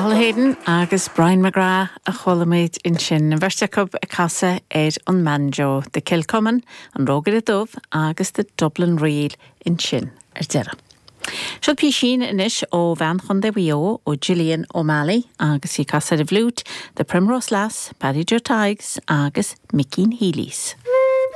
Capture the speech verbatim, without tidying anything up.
Cathal Hayden agus Brian McGrath a chuala muid ansin an bheirt acu ag casadh ar an mbanjo The Kilcummin, an Rógaire Dubh agus the Dublin Reel ansin ar deireadh. Seo písín anois ó bhean Chontae Mhaigh Eo ó Gillian O'Malley agus í ag casadh ar an bhfliúit, The Primrose Lass, Paddy Joe Tadhg's agus Mickeen Healy's.